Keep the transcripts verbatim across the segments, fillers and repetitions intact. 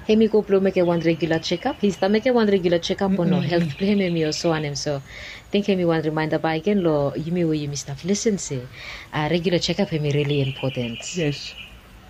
Hem i go blong mekem wan regular chekap. Hi stap mekem wan regular chekap o no? Helt blong hem hem i olsem wanem? So ting hem i wan rimaenda bakegen long yumi we yumi stap lisen se regular chekap hem i rili impoten.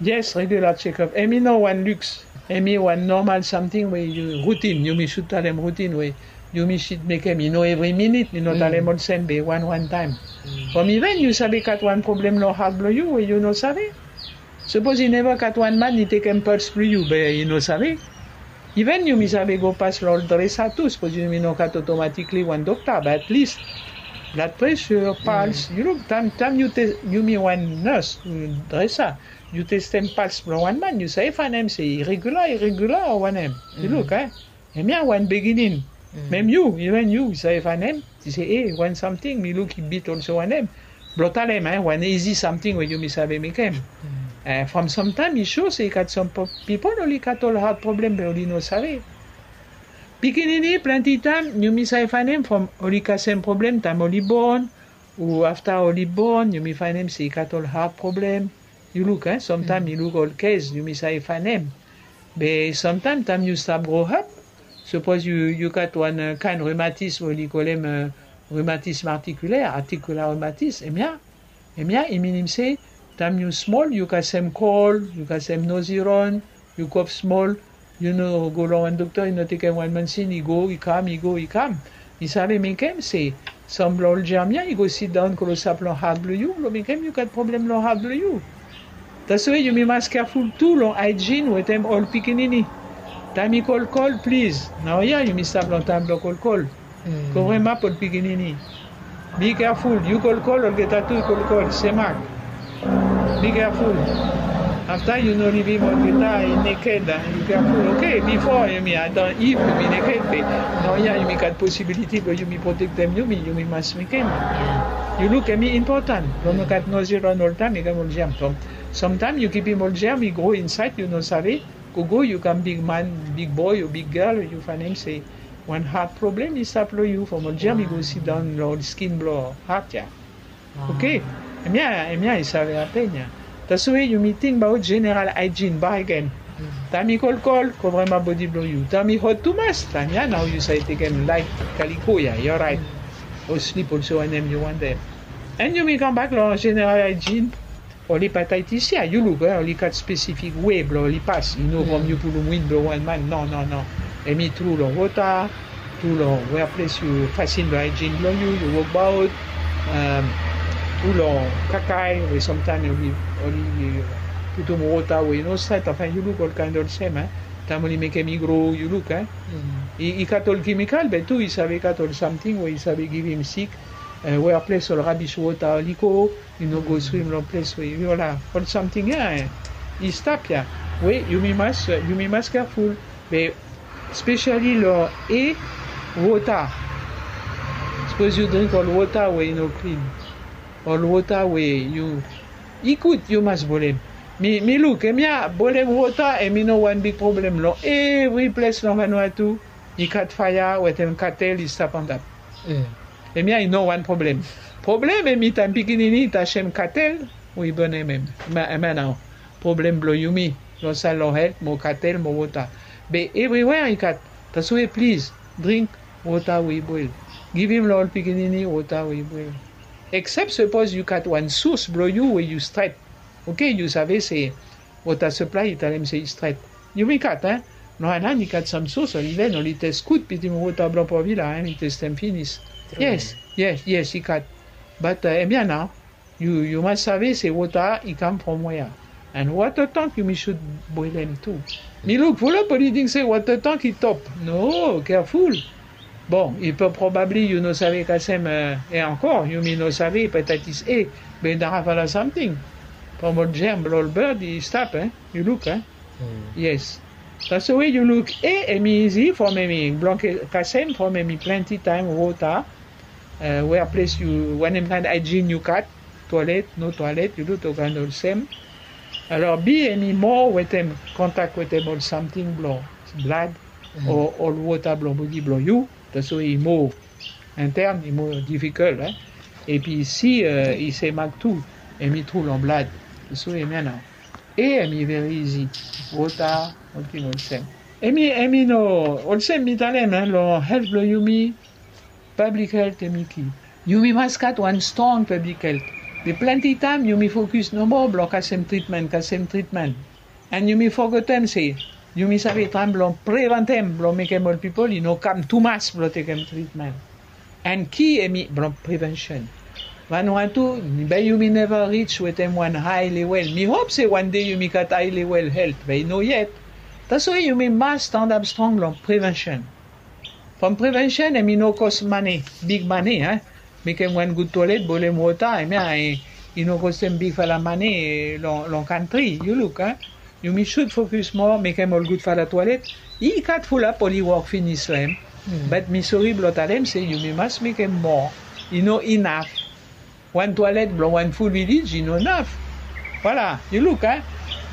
Yes, regular chekap hem i no wan luks. Hem i wan nomal samting we yu rutin yumi sud talem rutin we yumi sud mekem i no evri minit i no talem olsem be wan wan taem. From iven yu save gat wan problem long hat blong yu we yu no save. Sapos i neva gat wan man i tekem pals blong yu be i no save. Iven yumi save go pas long ol dresa tu sapos yumi no gat otomatikli wan dokta be at lis blad presur pals yu luk taem taem yu tes yumi wan nas dresa yu testem pals blong wan man yu save fanem se i regula i regula o wanem? Yu luk a hemia wan biginin. Mem yu iven yu save fanem ti se e wan samting mi luk i bit olse wanem? Blong talem a wan izi samting we yumi save mekem. From samtaem i so se i gat sam pipol oli gat ol hat problem be oli no save. Pikinini plenti taem yumi save fanem from oli kasem problem taem oli bon o afta oli bon yumi fanem se i gat ol hat problem. Yu luk a samtaem yu luk ol kes yumi save fanem. Be samtaem taem yu stap gro hap sapos yu gat wan kaen rumatis we oli kolem rumatis martikuler artikula rumatis hemia hemia i minim se taem yu smol yu kasem kol yu kasem noziron yu kof smol yu no go long wan dokta yu no tekem wan mansin i go i kam i go i kam. I save mekem se sam blong ol jam ya i go sidaon klosap long hat blong yu blong mekem yu gat problem long hat blong yu. Tasoe yumi mas keaful tu long aejin wetem ol pikinini. Taem i kolkol plis naoia yumi stap long taem blong kolkol. Kovremap ol pikinini. Bi keaful yu kolkol olgeta tu i kolkol semak. Bi keaful. Afta yu no livim olgeta i neked a yu keaful oke bifo yumi adan iv yumi neked be naoia yumi gat posibiliti blong yumi protektem yumi yumi mas mekem. Yu luk em i impotan blong no gat nozi ran oltaem i kam ol jam from samtaem yu kipim ol jam i gro insaed yu no save. Gogo yu kam bigman bigboy o biggel yu fanem se wan hat problem i stap long yu from ol jam i go sidaon long ol skin blong hat ya. Oke. Hemia hemia i save hapen ya. Tasoe yumi tingbaot jeneral aejin bakegen. Taem i kolkol kovrema bodi blong yu taem i hot tumas taem ya nao yu save tekem laet kaliko ya i oraet. O slip olse wanem yu wantem. An yumi kambak long jeneral aejin. Ol hepataitis ya yu luk we ol i gat spesifik we blong ol i pas i no from yu pulum win blong wan man no no no. Em i tru long wota tru long wea ples yu fasin blong aejin blong yu yu wokbaot. Tru long kakae we samtaem ol i putum wota we i no stret afan yu luk ol kaen olsem a taem ol i mekem i gro yu luk a i gat ol kemikal be tu i save gat ol samting we i save givim sik. Wea ples ol rabis wota ol i go i no go swim long ples we i ola ol samting ya i stap ya. We yumi mas yumi mas keaful be spesiali long e wota. Sapos yu dring ol wota we i no klin ol wota we yu i gud yu mas bolem. Mi mi luk em ya bolem wota em i no wan big problem long evri ples long vanua tu. I kat faya wetem katel i stap antap. Em ya i no wan problem. Problem em i taem pikinini i tasem katel we i bonem em. Em ya nao problem blong yumi long sal long helt mo katel mo wota. Be evriwea i kat. Tasoe plis dring wota we i boel. Givim long ol pikinini wota we i boel. Eksep sapos yu kat wan sus blong yu we yu stret. Oke yu save se wota saplai i talem se i stret. Yumi kat a no anan i gat sam sos ol iven ol i tes gud bitim wota blong provila a i testem finis. Yes yes yes i gat. Bat em ya nao yu yu mas save se wota i kam from wea. An wota tank yumi sud boelem tu. Mi luk fulap ol i ting se wota tank i top. No keaful. Bon i pe probabli yu no save kasem e ankor yumi no save petatis e. Be dara fala samting. From ol germ blong ol berd i stap e. Yu luk e. Yes. Taso we yu luk e em i izi from em i blong kasem from em i plenti taem wota. Wea ples yu wanem kaen aijin yu kat, toilet no toilet yu luk ol kaen olsem. Alor bi em i moa wetem kontak wetem ol samting blong blad o ol wota blong bodi blong yu. Taso we i moa intern i moa difikol. Epi si i semak tu em i tru long blad. Taso we em ya nao. E em i veri izi. Wota, olting olsem. Emi emi no olsem mi talem long helt blong yumi. Pablik helt emi ki. Yumi mas gat wan strong pablik helt. Be plante taem yumi fokus nomo blong kasem tritmen kasem tritmen. An yumi fogetem se yumi save traem blong preventem blong mekem ol pipol i no kam tumas blong tekem tritmen. An ki emi blong prevensen. Wan wan tu, be yumi neva rij wetem wan hae lewel mi hop se wan de yumi gat hae lewel helt be i no yet. Taso yumi mas standap strong long prevensen. From prevensen emi no kos mane, big mane. Mekem wan gud tolet bolem wota emi a i no kostem bigfala mane long kantri yu luk. Yumi sud fokus moa mekem ol gudfala tolet. I gat fulap oli wok finis long em. Bat mi sori blong talem se yumi mas mekem moa. I no inaf. Wan tolet blong wan ful vilij i no naf. Voila, yu luk a.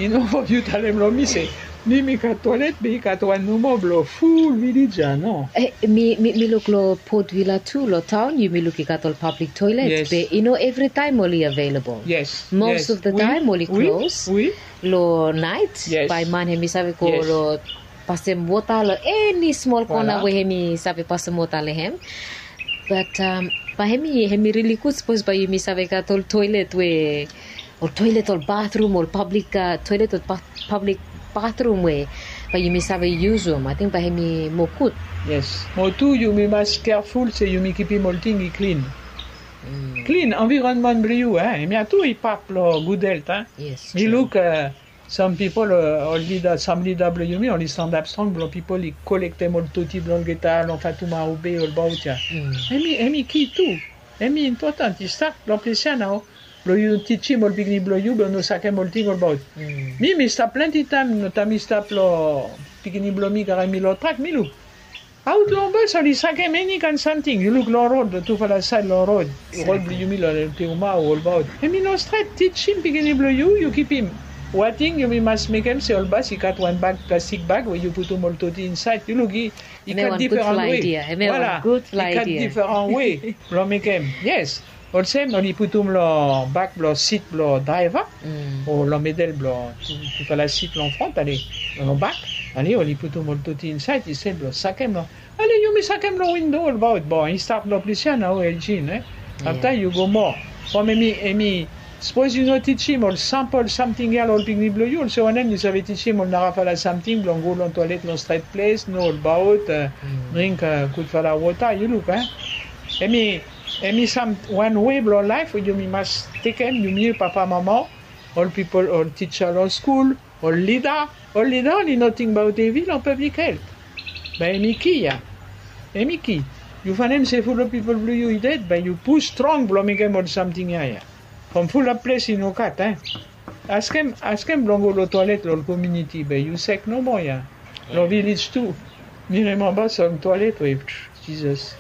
I no fo yu talem long mi se mi mi gat tolet be i gat wan nomo blong ful vilij a no. Mi luk long potvila tu long taon yumi luk i gat ol pablik toilet be i no evritaem oli avelabol. Mos of the taem oli klos long naet. Bae man hem i save go long pasem wota long eni smol kona we hem i save pasem wota long hem. Bat bae hem i rili gud sapos bae yumi save gat ol toelet we ol toelet ol batrum ol pablik toelet ol pablik batrum we bae yumi save yusum ating bae hem i moa gud. Yes. Mo tu yumi mas keaful se yumi kipim olting i klin. Klin anvironman blong yu a hem ya tu i pap long gud helt a. Mi luk sam pipol ol lida sam lida blong yumi oli standap strong blong pipol i kolektem ol toti blong olgeta long fatuma ube ol baot ya. Hem i ki tu. Hem i impotan i stap long ples ya nao blong yu tijim ol pikinini blong yu blong no sakem olting ol baot. Mi mi stap plante taem no taem mi stap long pikinini blong mi karem mi long trak mi luk. Aot long bos oli sakem eni kaen samting yu luk long rod long tufala saed long rod. Rod blong yumi long teuma o olbaot hem i no stret tijim pikinini blong yu yu kipim. Wating yumi mas mekem se ol bas i gat wan bag plastik bag we yu putum ol toti insaed yu luk i gat diferan we. Voila, i gat diferan we blong mekem. Yes. Olsem oli putum long bak blong sit blong draeva o long medel blong tufala sit long front ale long bak. Ale oli putum ol toti insaed i sel blong sakem long ale yumi sakem long windo olbaot bon i stap long plis ya nao elgin. Afta yu go moa from emi emi sapos yu no tijim ol sampol samting ya long ol pikinini blong yu olse wanem yu save tijim ol narafala samting blong go long toalet long stret ples no olbaot dring gudfala wota yu luk a. Emi emi sam wan we blong laef we yumi mas tekem yumi papa mama ol pipol ol tija long skul ol lida ol lida oli no tingbaot evi long pablik helt. Bae emi ki ya emi ki yu fanem se ful ol pipol blong yu i ded bae yu pus strong blong mekem ol samting ya ya. From fulap ples i no gat a. Askem askem blong go long toalet long ol kominiti be yu sek nomo ya. Long vilij tu mi remamba sam toalet we jizas.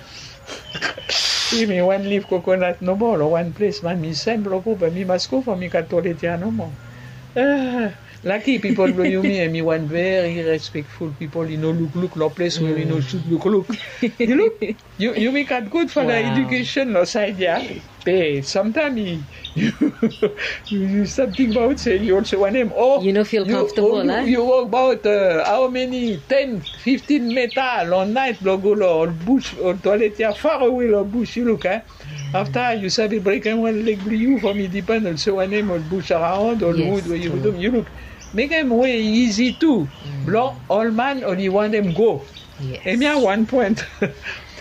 Wi mi wan lif kokonat nomo long wan ples man mi sem blong go be mi mas go from mi gat toalet ya nomo. Laki pipol blong yumi em i wan veri respekful pipol i no lukluk long ples we i no sud lukluk. Yu luk yumi gat gud fala edikesen long saed ya. Be samtaem i yu stap tingbaot se yu olse wanem o yu no fil komfotabol a yu wok baot hao meni ten fiftin meta long naet blong go long ol bus ol toalet ya farawe long bus yu luk a. Afta yu save brekem wan leg blong yu from i dipan olse wanem ol bus araon ol wud we yu pudum yu luk. Mekem we izi tu blong ol man oli wantem go. Em ya wan poen.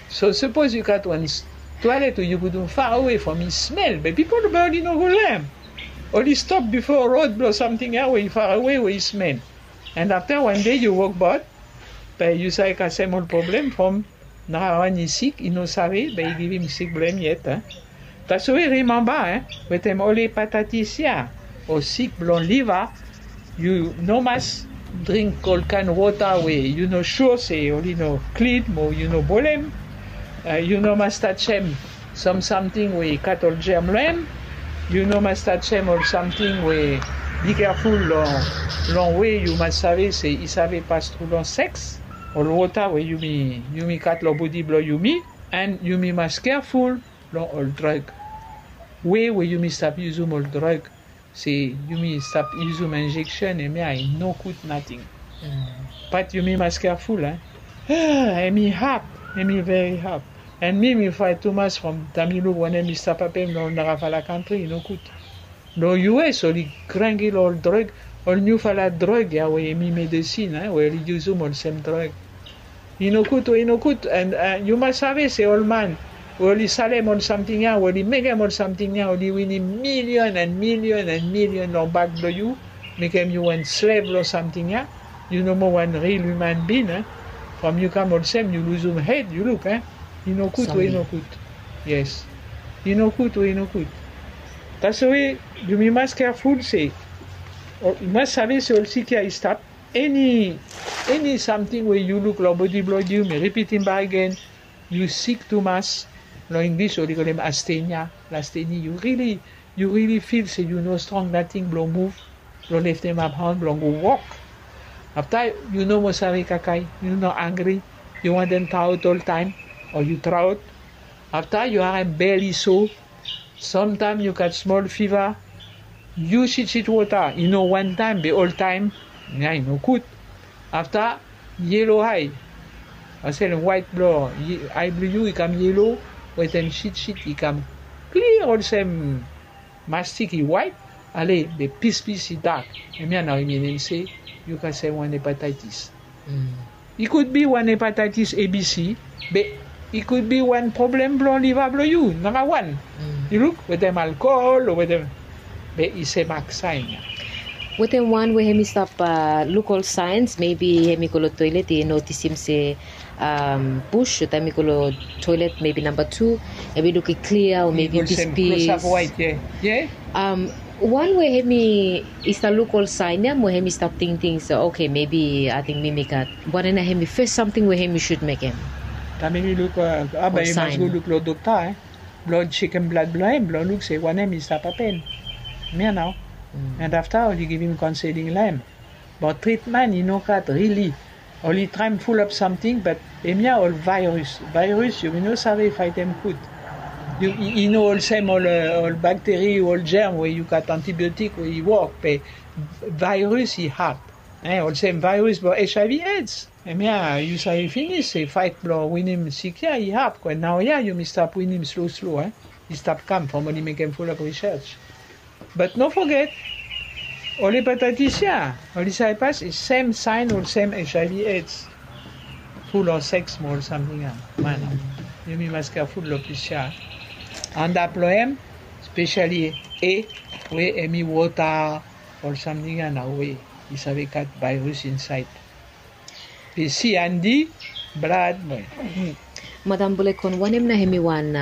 So sapos yu gat wan toalet we yu pudum farawe from i smel be pipol be oli no go long em. Oli stop bifo rod blong samting ya we i farawe we i smel. An afta wan dei yu wokbaot be yu save kasem ol problem from narawan i sik i no save be i givim sik blong em yet. Taswe rimamba wetem ol hepatatis ya o sik blong liva. Yu no mas dring ol kaen wota we yu no sua se oli no klin mo yu no bolem. Yu no mas tajem sam samting we i gat ol jem long em. Yu no mas tajem ol samting we bikerful long long we yu mas save se i save pas tru long seks ol wota we yumi yumi gat long bodi blong yumi. An yumi mas keaful long ol drug. We we yumi stap yusum ol drug se yumi stap yusum injeksen em ya i no gud nating. Bat yumi mas careful, eh. Hemi hap, hemi very hap. And mi mi fraet tumas from taem yu luk wanem i stap hapen long ol narafala kantri, i no gud. Long U S oli grangi long ol drug, ol niufala drug ya we hemi medesin, eh, we oli yusum olsem drug. I no gud we i no gud. And yu mas save se ol man we oli salem ol samting ya, we oli mekem ol samting ya, oli winim milion and milion and milion long bak blong yu, mekem yu wan slev long samting ya. Yu no moa wan ril human bin, eh. From yu kam olsem yu luzum hed, yu luk, eh. I no gud we i no gud. Yes. I no gud we i no gud. That's why yumi mas careful se, yu mas save se ol sik ya i stap. Eni eni samting we yu luk long bodi blong yu, mi ripitim bak agen, yu sik tumas. Long Inglis oli kolem astenia, lastenia, yu rili yu rili fil se yu no strong nating blong muv, blong leftem ap han blong go wok. Afta yu no moa save kakae, yu no angri, yu wantem traot oltaem, o yu traot. Afta yu harem bel i so, samtaem yu gat smol fiva. Yu sitsit wota i no wantaem be oltaem, ya i no gud. Afta yelo ae, olsem waet blong ae blong yu i kam yelo, wetem sitsit i kam klia olsem mastik i waet, ale be pispis i dak. Hemia nao i minim se yu kasem wan hepataetis. I gud bi wan hepataetis A B C, be i gud bi wan problem blong liva blong yu nara wan. Yu luk wetem alkohol o wetem, be i sem aksaen ya. Wetem wan we hemi stap luk ol saens, mebi hemi go long toelet i notisim se bus o taem i go long toelet, mebi namba tu, hemi luk i klia o mebi pispis. Wan we hemi i stap luk ol saen ya mo hemi stap tingting se, oke, mebi ating mi mi gat. Wanem nao hemi fes samting we hemi sud mekem? Taem hemi luk, a bae i mas go luk long dokta, blong sekem blad blong hem blong luk se wanem i stap hapen. Hemia nao. And afta oli givim kaonseling long hem. Bat tritmen i no gat rili. Oli traem fulap samting, bat hemia ol vaeris. Vaeris yumi no save faetem gud. I no olsem ol bakteri o ol jerm we yu gat antibiotik we i wok, be vaeris i had. Olsem vaeris blong HIV AIDS. Hemia yu save finis se faet blong winim sik ya i had. Kwe naoia yumi stap winim slo slo. I stap kam from oli mekem fulap risaj. Bat no foget, ol hepataetis ya oli save pas i sem saen olsem HIV AIDS. Tru long seks mo ol samting ya. Man, yumi mas keaful long plis ya. Antap long hem, spesiali A, we hemi wota, ol samting ya nao we i save gat vaeris insaed. Be C and D, blad mo. Madam Bulekon, wanem nao hemi wan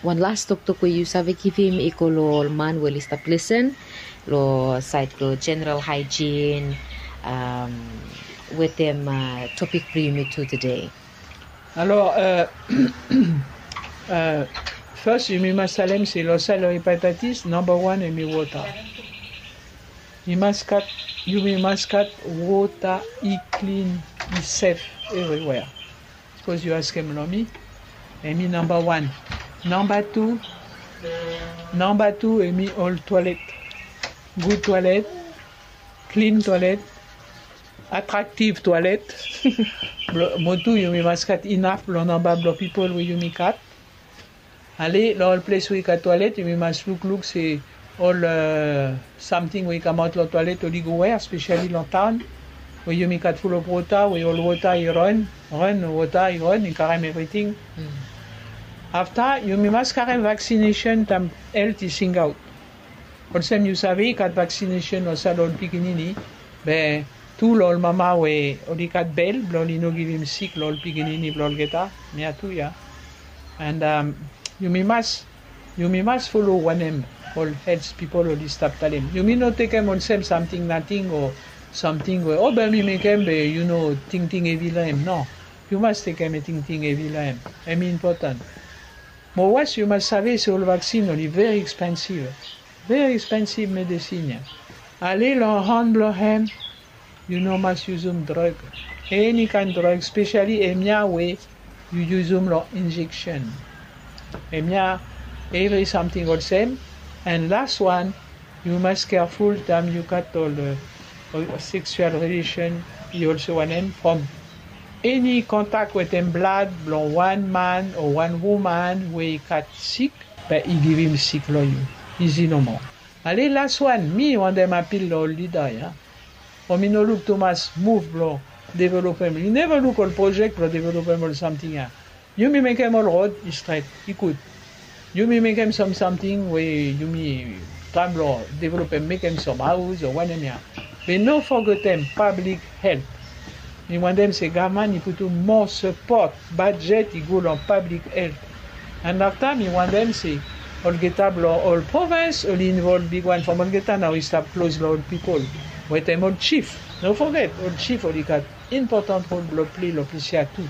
wan las toktok we yu save givim i go long ol man we oli stap lisen long saed blong jeneral haejin wetem topik blong yumi tu tede? Alo, fas yumi mas talem se long saed long hepataetis, namba wan hemi wota. I mas gat, yumi mas gat wota i klin, i sef evriwea. Sapos yu askem long mi, hemi namba wan. Namba tu, namba tu hemi ol toalet. Gud toalet, klin toalet, atraktiv toalet. Mo tu yumi mas gat inaf long namba blong pipol we yumi gat. Ale long ol ples we i gat toalet yumi mas lukluk se ol samting we i kamaot long toalet oli go wea, spesiali long taon we yumi gat fulop wota, we ol wota i ran, ran wota i ran, i karem evriting. Afta yumi mas karem vaksinesen taem helt i singaot. Olsem yu save i gat vaksinesen long saed long ol pikinini, be tu long ol mama we oli gat bel blong oli no givim sik long ol pikinini blong olgeta. Hemia tu ya. And yumi mas, yumi mas folo wanem ol helt pipol oli stap talem. Yumi no tekem olsem samting nating o samting we o be mi mekem be yu no tingting hevi long hem. No. Yu mas tekem tingting hevi long hem. Hemi impoten. Mo was yu mas save se ol vaksin oli veri ekspensiv. Veri ekspensiv medesin ya. Ale long han blong hem, yu no mas yusum drog. Eni kaen drog, spesiali hemia we yu yusum long injeksen. Hemia evri samting olsem. And las wan, yu mas keaful taem yu gat ol seksual rilesen I olso wanem from eni kontak wetem blad blong wan man o wan woman we i gat sik, be i givim sik long yu. Izi nomo. Ale las wan mi wantem apil long ol lida ya. O mi no luk tumas muv blong developem. I neva luk ol projek blong developem ol samting ya. Yumi mekem ol rod i stret, i gud. Yumi mekem sam samting we yumi tram long developem, mekem sam haus o wanem ya. Be no fogetem pablik helt. Mi wantem se gavman i putum moa sapot bajet i go long pablik helt. And afta mi wantem se olgeta blong ol provens oli involv bigwan from olgeta nao i stap klos long ol pipol wetem ol jif. No foget ol jif oli gat impotan rol blong ple long ples ya tu.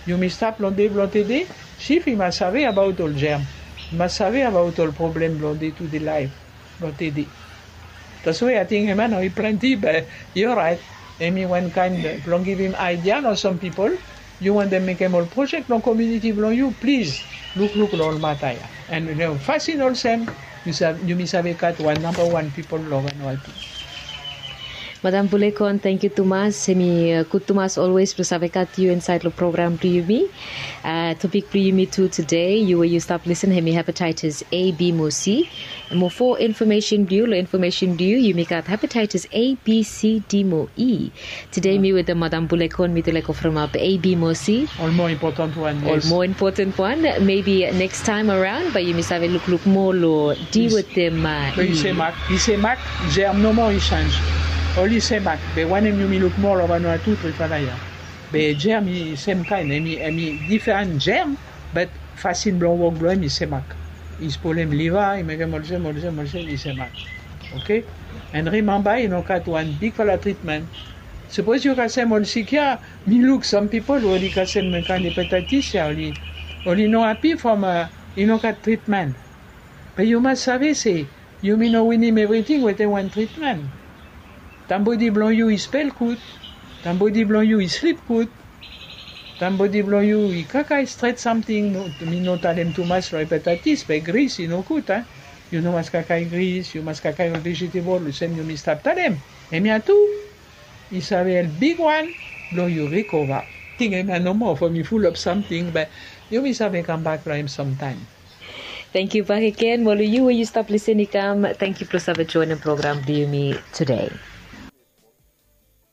Yumi stap long de blong tede, jif i mas save abaot ol jerm, i mas save abaot ol problem blong de tu de laef blong tede. Taswe ating hemia nao i plenti be i oraet. Hemi wan kaen blong givim aidia long sam pipol. Yu wantem mekem ol projek long kominiti blong yu, plis lukluk long ol mata ya. And fasin olsem yumi save gat wan namba wan pipol long Vanuatu. Madam Bulekon, tangkiu tumas. Hemi gud tumas olwes blong save gat yu insaed long program blong yumi. Topik blong yumi tu tede, yu we yu stap lisen, hemi hepatitis A, B mo C. Mo fo infomesen blong yu, long infomesen blong yu yumi gat hepatitis A, B, C, D mo E. Tede mi wetem Madam Bulekon mi tu laik ofremap A, B mo C. Ol moa impotan wan. Ol moa impotan wan. Mebi neks taem araon bae yumi save lukluk moa long D wetem E. Be i semak, i semak, jerm nomo i senj. Oli semak. Be wanem yumi luk moa long Vanuatu trifala ya. Be jerm i semkaen, hemi diferan jerm. Be fasin blong wok blong hem i semak. I spolem liva, i mekem olsem olsem olsem, i semak. Oke. And rimamba i no gat wan bigfala tritmen. Sapos yu kasem ol sik ya, mi luk sam pipol we oli kasem kaen hepatitis ya, oli no api from i no gat tritmen. Be yu mas save se yumi no winim evriting wetem wan tritmen. Taem bodi blong yu i spel gud, taem bodi blong yu i slip gud, taem bodi blong yu i kakae stret samting. Mi no talem tumas long hepatitis be gris i no gud a. Yu no mas kakae gris, yu mas kakae ol vejetebol olsem yumi stap talem. Hemia tu i save help bigwan blong yu rikova. Ting hemia nomo from i fulap samting be yumi save kambak long hem samtaem. Tangkiu bakegen mo long yu we yu stap lisen i kam, tangkiu blong save joenem program blong yumi tede.